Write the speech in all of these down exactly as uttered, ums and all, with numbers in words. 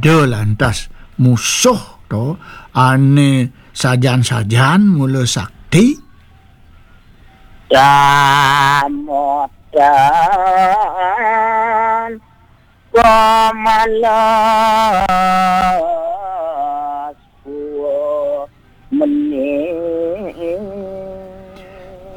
ada lantas musuh to, ane sajan-sajan mula sakti. Damodan pamalas mening.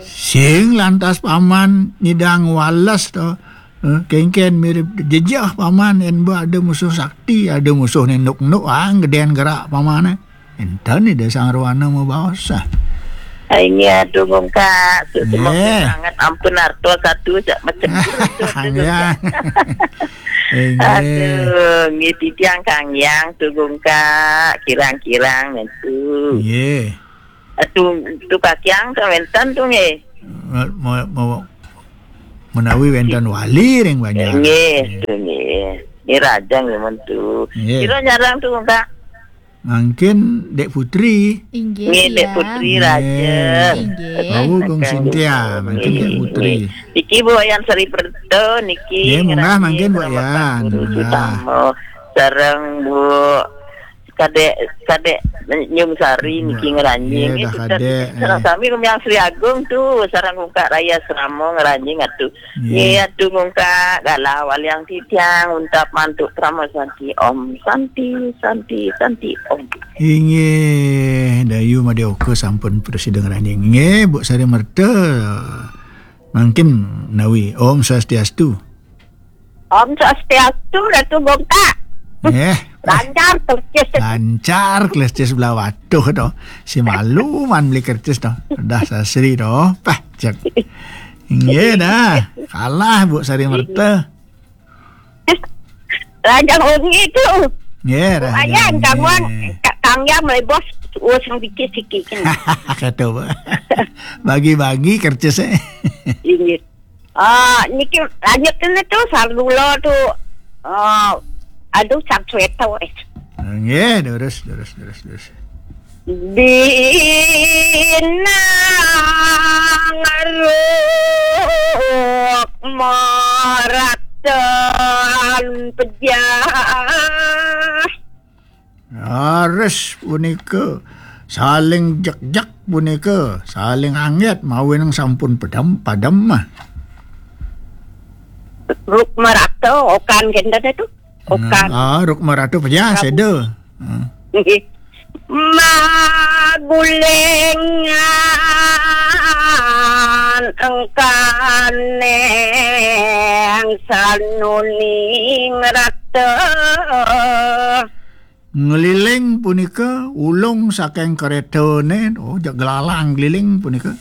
Sing lantas paman nyidang wales to. Eh, kengken mirip jejeh paman, en ba ada musuh sakti, ada musuh nenduk-nuk, ah, geden gerak paman, eh. Enten ida sang rohana mabaos, ah. Ai, nggih, aduh, Gungkak, sesama sangat ampun arto satu, sak macam tu, tu, tu, ya. Nggih. Aduh, nggih, titiang kangyang tu, Gungkak, kirang-kirang, tu. Nggih. Atu, tu kakiang tu wenten tu nggih. Mo-, mo-, mo-, menawi wenten wali ring banjar. Nggih, tu nggih. Nggih, rajang nggih men tu. Nggih. Kira nyarang tu, Kak? Mangkin Dek Putri. Inggih, nggih, Dek Putri rajang. Inggih. Bau Kong Sintia, mangkin Dek Putri. Iki Bu Wayan Sri Perto niki. Nggih, munggah mangkin, Bu Wayan. Munggah. Sareng Bu Kadek, Kadek Nyum Sari niki ngranjing. Nggih, dah Kadek, sareng sami rumiang Sri Agung tu, sareng Gungkak Raya Seramo ngranjing atu. Nggih, atu Gungkak, galah waliang titiang, untap mantuk Parama Santi. Om Santi, Santi, Santi, Om. Inggih, Dayu Madioka sampun prasida ngranjing. Inggih, Bu Sari Merta. Mangkin nawi. Om Swastiastu. Om Swastiastu, Datu Gungkak. Eh. Lancar, kleces. Lancar, kleces belah watuh to. Si malu man beli kertas to. Dah sasri to. Pah, cek. Nggih dah. Kalah Bu Sari Merta. Lancar wengi tu. Nggih, dah. Ayan, kamuan, Kak Kang Yang melebos, oh, sang dikit-dikit. Kata apa? Bagi-bagi kertas, eh. Inggih. Ah, niki lanjut kene tu, sareng kula tu. Ah, aduh, sang sweta wis. Nggih, terus, terus, terus, terus. Binang ruk maratan pejah. Raris punika saling jekjek punika, saling anget mawinan sampun padem, padem mah. Ruk marata okan kenten tu. Okan. Ah, ruk marata pejah seda. Ah. Nggih. Magulingan engkaneng sanuning rata. Ngliling punika ulung saking kretane, oh, jak gelalang ngliling punika.